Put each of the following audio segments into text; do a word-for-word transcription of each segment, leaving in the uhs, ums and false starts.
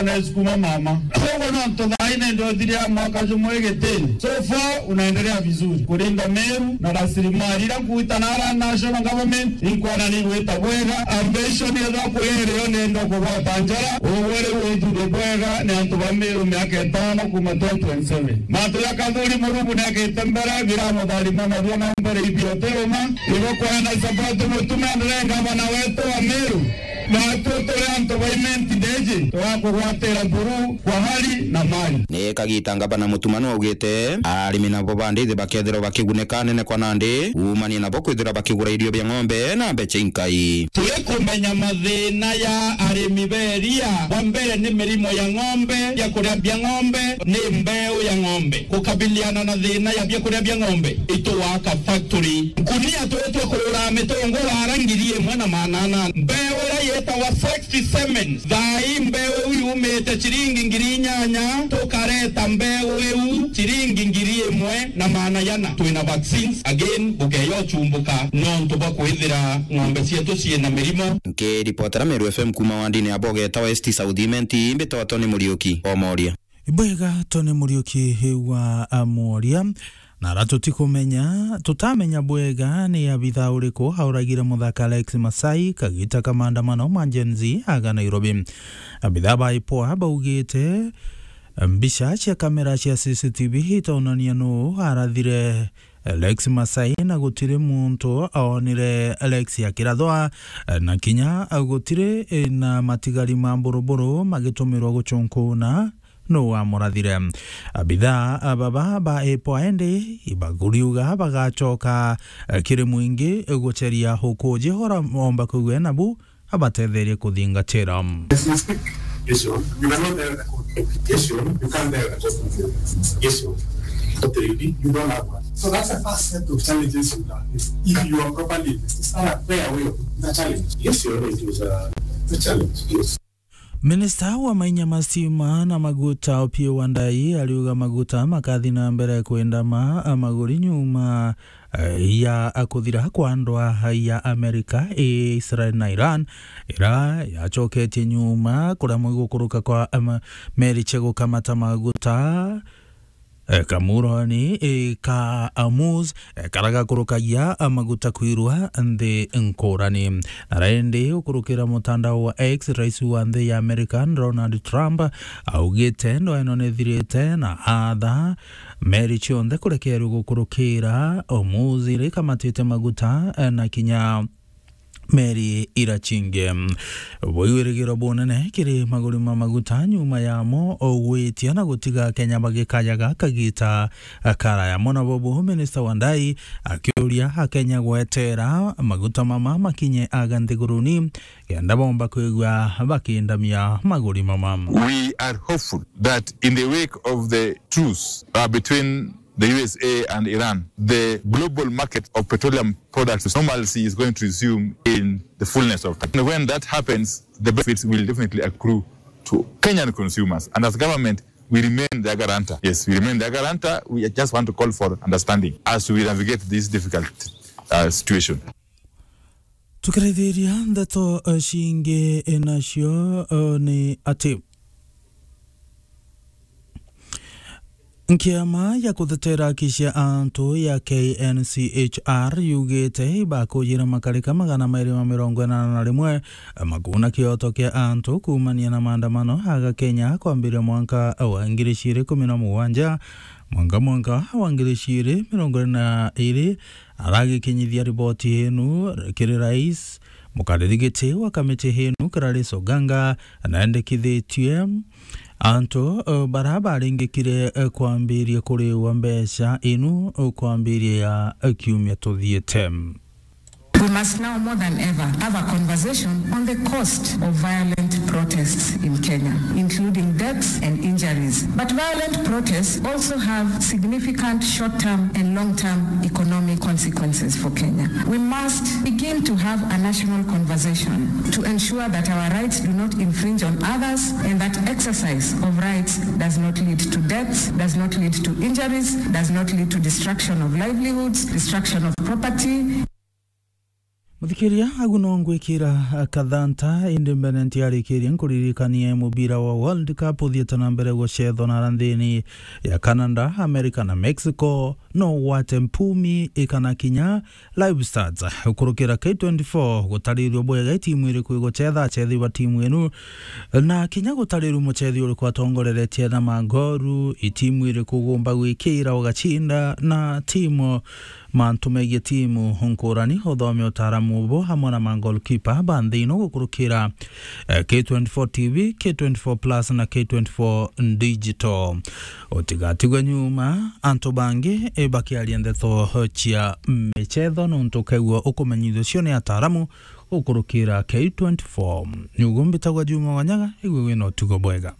Anasukuma mama. Uguo no ntu thaai ni ndothire ya mwaka jumwe gitini. So far, unaendelea vizuri. Kulinda Meru na rasilimali ira nkuita na ara national government, inkwana ni igwita bwega. Ambition yethwa kuri irio ni ndo kugwata njara. Uguo riu withire bwega ni antu ba Meru miaka itano kuma twenty twenty-seven. Matu ya Kathuri Murungu ni akite mbere, biramutharima na biona mbere ibioteruma. Igo kwena support mutume ndire ngavana wetu wa Meru. Matu turi antu ba Imenti Ndeji, twakugwatira buru kwa hali na mali. Ni kagita ngavana Mutuma nwaugite arimi nabo ba ndithi bakethirwa bakigunika nene kwa nandi, umanie nabo kwithirwa bakigura irio bia ng'ombe na mbecha inkai. Turikumenya mathina ya arimi ba iria. Wa mbere ni mirimo ya ng'ombe, biakuria bia ng'ombe, ni mbeu ya ng'ombe. Kukabiliana na thina ya biakuria bia ng'ombe, itugwaka factory. Nkunia turia twa kurura mitungu wara ngiri imwe na maana ana. Mbeu iria yetawa sixty semen. Thaai mbeu iu yumite ciringi ngiri inyanya, tukareta mbeu iu ciringi ngiri imwe na maana yana. Twina vaccines, again, bukeya uchumbuka nontu bwa kwithira ng'ombe cietu ciina mirimo. Nkiripotera Meru F M kuma wandini ya Boge etawa East South Imenti, mbitwa Tony Muriuki, Omoria. Ibwega Tony Muriuki wa Amoria. Na ara tutikumenya, tutamenya bwega ni abitha uriku auragire muthaka Alex Masai kagita ka maandamano ma Gen Z aga Nairobi. Abitha ba IPOA baugite mbica cia kamera cia C C T V itonania nuu arathire Alex Masai na gutiri muntu oonire Alex akirathwa, na kinya gutiri na matigari ma mburuburu magitumirwa gucunkuna nuu wamurathire. Abitha baba ba IPOA indi ibakuriuga bagacoka kiri mwingi guceria ukuji ura omba kwigua nabu abatetherie kuthingatira. Yes, you speak. Yes, sir. You cannot tell the court. Yes, sir. You can't tell the court. Yes, sir. What do you do? You don't have one. So that's the first set of challenges you have. If, if you are properly invested, stand up, clear away the challenge. Yes, sir. It is a, a challenge. Yes. Minista wa mainya ma stima na maguta Opiyo Wandayi ariuga maguta makathi na mbere kwendama maguri nyuma, eh, ya kuthira kwa ndwa ya Amerika, Israel na Iran, ira yacoketie nyuma kuria mwigukuruka kwa, em, meri cia gukamata maguta, eh, kamuroni, eh, ka Hormuz, eh, karia gakurukagia, eh, maguta kwirwa nthi nkurani. Na rindi ukurukira mutandao wa X, rais wa nthi ya Amerika Donald Trump augite ndwa ino nithirite na atha meri cionthe kurekerua gukurukira Hormuz iria ikamatite maguta, eh, na kinya meri ira cingi. Bwigwirigiro bunene kiri maguri ma maguta nyuma yamo gwitia na gutiga Akenya bagikayaga kagita karaya mono. Bobo Minista Wandayi akiuria Akenya gwetera maguta mama makinye aga nthiguruni kenda bomba kwigua bakindamia maguri mama. We are hopeful that in the wake of the truce, uh, between the U S A and Iran, the global market of petroleum products normalcy is going to resume in the fullness of time. And when that happens, the benefits will definitely accrue to Kenyan consumers. And as government, we remain their guarantor. Yes, we remain their guarantor. We just want to call for understanding as we navigate this difficult, uh, situation. Tukirithiria ndeto, eh, cingi, eh, nacio, eh, ni ati Nkiama ya kutetera haki cia antu ya K N C H R yugite ibakujira makarika magana mairi ma mirongo inana na rimwe makuna kioto kia antu kuumania na maandamano aga Kenya kwambiria mwanka wa ngiri ciiri kumi na mugwanja mwanka mwanka wa ngiri ciiri mirongo iri na iri. Aragikinyithia riboti inu kiri rais, mukariri giti wa kamiti inu Gladys Oganga, naendekithitie antu, eh, bara baringikire, eh, kwambiria kuriwa mbeca inu, eh, kwambiria, eh, kiumia tuthiite. We must now more than ever have a conversation on the cost of violent protests in Kenya, including deaths and injuries. But violent protests also have significant short-term and long-term economic consequences for Kenya. We must begin to have a national conversation to ensure that our rights do not infringe on others and that exercise of rights does not lead to deaths, does not lead to injuries, does not lead to destruction of livelihoods, destruction of property. Muthikiria, agu no ngwikira kathanta, indi mbere ntiarikirie nkuririkanie mubira wa World Cup uthiite na mbere gucethwa na nthini ya Canada, America na Mexico. No ugwate mpumi ikana kinya live stats gukurukira K twenty-four gutarirua bwega itimu iriku igucetha, acethi ba timu inu, na kinya gutarirua mucethi uriku atongoreretie na magoru, itimu iriku ugumba gwikira ugacinda, na timu mantu megie timu nkurani, uthome utaaramu ubu hamwe na magolkipa ba nthi ino gukurukira, eh, K twenty-four T V, K twenty-four Plus na K twenty-four Digital. Utigatigwe nyuma, antu bangi, eh, bakiaria ndeto cia michetho, nontu ukeigua ukumenyithio cio ni ataaramu gukurukira K twenty-four. Nyugu mbitagwa Juma Wanyaga, igwe wina utugo bwega.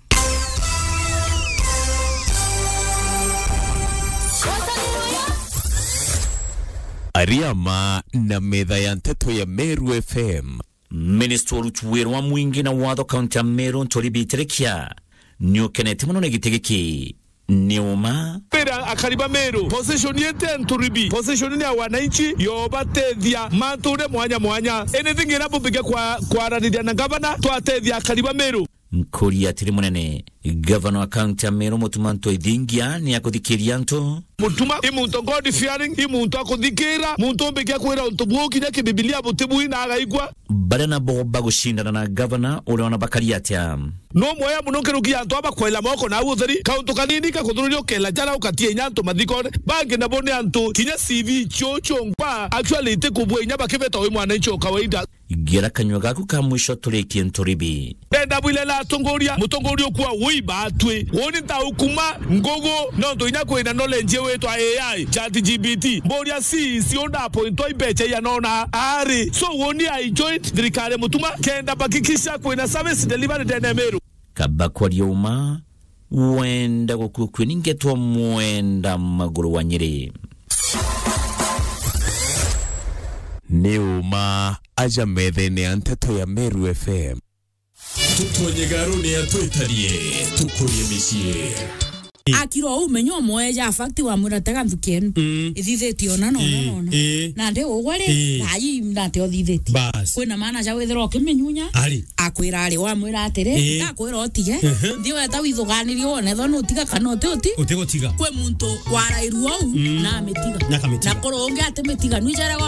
Ariama na metha ya nteto ya Meru F M. Minister wa uruti wira wa mwingi na watho kaunti ya Meru, Nturi Bitirikia, ni ukenete mono ni giti giki. Ni uma. Mbira akari ba Meru, position yetu ya Nturi B, position ni ya wananchi, yobatethia mantu uria mwanya mwanya. Anything ira bumbike kwa, kwaraniria na gavana, twatethia akari ba Meru. Nkuri atiri munene, gavana wa kaunti ya Meru, Mutuma Ntwethingia, ni akuthikiria antu. Mutuma i muntu God fearing, i muntu akuthikira, muntu umbikia kwira untu buu kinya kibibilia butibui na agaigua. Baria nabo bagucindana na gavana uria ona bakari atia? No mweya muno nkiruki ya antu aba kwaila moko na au utheri, kauntu kanini kakuthururia ukela jara ukatia inya antu mathikone. Bangi nabo ni antu kinya C V cio cionkwa actually itikubua inya bakibeta wi mwananchi o kawaida. Gera kanyua gaku ka mwisho turikie Nturi B. Ndenda bwirera atongoria, mutongoria ukua ui batwi. Uni ntaukuma ngugu, nontu inya kwina knowledge witwa A I, Chat G P T. Mburia C E C unda appointwa imbecha ianona ari. So uni I joined thirikari Mutuma, kenda bakikisha kwina service delivery ndene Meru. Kaba kwaria uma, wenda gukua kwi ningetwa mwenda maguru wa Nyeri. Ni uma aja methene ya nteto ya Meru F M. Tutonye garuni atwitarie, tukurie micii. Akirwa uu, menya umwe ja fact wamwira, "Tega nthuki enu." Mm. Ithithitie ona, nona, ii, nona. Ii. Na ndi ugwe ri, ii, ai, nate uthithitie. Bas. Kwina maana ja withira ukiminyunya, ari, akwira ari, wamwira atiri, ii, ndakwira utige, ehe, nthi weta withuganirie wone ethwa nutiga kana uti uti. Utigutiga. Kwi muntu warairua uu, mm, na amitiga. Na akamitiga. Na kuri ungi atimitiga, nwijaraga